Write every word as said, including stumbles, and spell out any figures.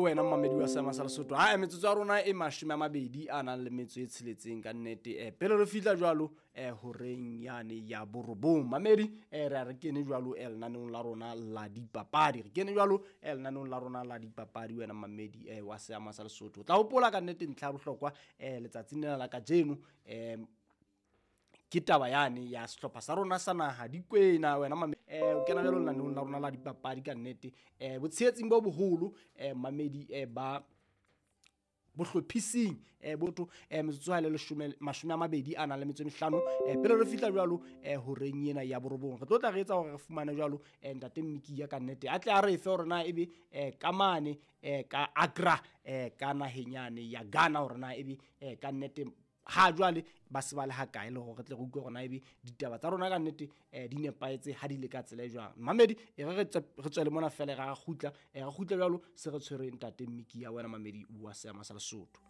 Wena mmamedi wa seama sa Lesotho, ha metsotso ya rona e mashome a mabedi a nang le metso e tsheletseng ka nnete. um Pele re fihla jwalo um horeng yane ya borobong, mamedi, um re a re kene jwalo um lenaneong la rona la dipapadi. Re kene jwalo um lenaneong la rona la dipapadi. Wena mmamedi um wa seama sa Lesotho, o tla hopola ka nnete ntlha ya bohlokwa um letsatsing lena la kajeno um ke taba yane ya sehlopha sa rona sa naha Dikwena. Wena mamedi, o kena jwalo lenaneong la rona la dipapadi ka nnete. um Botshehetsing bo boholo um mamedi um ba bohlophising um botho um metsotso ha le leshome mashome a mabedi a nang le metso e mehlano um pele re fihla jwalo um horeng ena ya borobong, re tlo tla re etsa hore re fumane jwalo um ntate Mmikia ka nnete a tle a re fe hore na ebe um ka mane um ka Accra um ka naheng yane ya Ghana, hore na ebe um ka nnete ha jwale ba se ba le ha kae, le hore re tle re utlwe hore na ebe ditaba tsa rona ka nnete um di nepahetse ha di le ka tsela e jwang. Mamedi, e re re tswele mona fela, ra kgutla, re kgutle jwalo se re tshwere ntate Mmikia. Wena mamedi wa seama sa Lesotho.